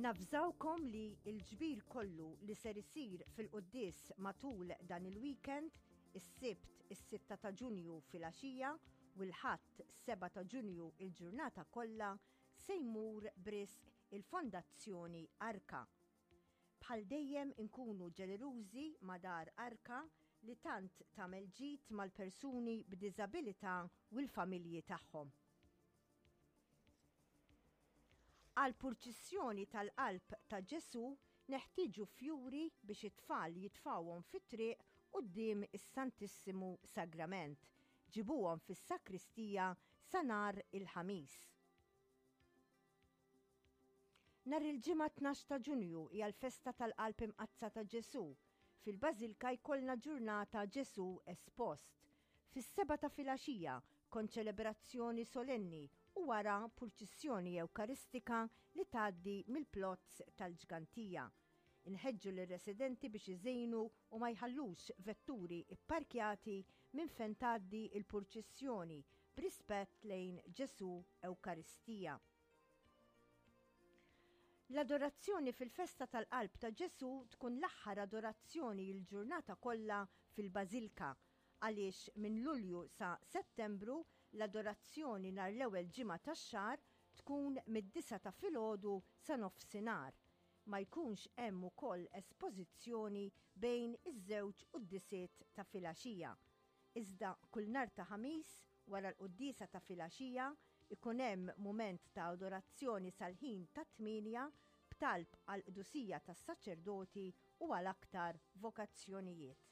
Navżawkom li l-ġbir kollu li ser isir fil-quddies matul dan il-weekend, is-Sibt is-sitta ta' Ġunju filgħaxija u l-Ħadd 7 ta' Ġunju il-ġurnata kollha se jmur b'risq il-Fondazzjoni Arka. Bħal dejjem inkunu ġenerużi ma' Dar Arka li tant tagħmel ġid mal-persuni b'diżabilità u l-familji tagħhom. Għall-purċissjoni tal-Qalb ta' Ġesù neħtieġu fjuri biex it-tfal jitfgħuhom fit-triq quddiem is-Santissimu Sagrament. Ġibuhom fis-sakristija sa nhar il-Ħamis. Nhar il-Ġimgħa 12 ta' Ġunju hija l-festa tal-Qalb Imqaddsa ta' Ġesù. Fil-Bażilka jkollna ġurnata Ġesù Espost. Fis-sebgħa ta' filgħaxija, konċelebrazzjoni solenni u wara purċissjoni Ewkaristika li tgħaddi mill-Plozz tal-Ġgantija. Inħeġġu lir-residenti biex iżejnu u ma jħallux vetturi pparkjati minn fejn tgħaddi l-purċissjoni b'rispett lejn Ġesù Ewkaristija. L-adorazzjoni fil-festa tal-Qalb ta' Ġesù tkun l-aħħar adorazzjoni l-ġurnata kollha fil-Bażilka għaliex minn Lulju sa Settembru l-adorazzjoni nhar l-ewwel Ġimgħa tax-xahar tkun mid-disgħa ta' filgħodu sa nofsinhar. Ma jkunx hemm ukoll espożizzjoni bejn iż-żewġ quddisiet ta' filgħaxija. Iżda kull nhar ta' Ħamis wara l-quddiesa ta' filgħaxija ikun hemm mument ta' adorazzjoni sal-ħin tat-tmienja b'talb għall-qdusija tas-saċerdoti u għal aktar vokazzjonijiet.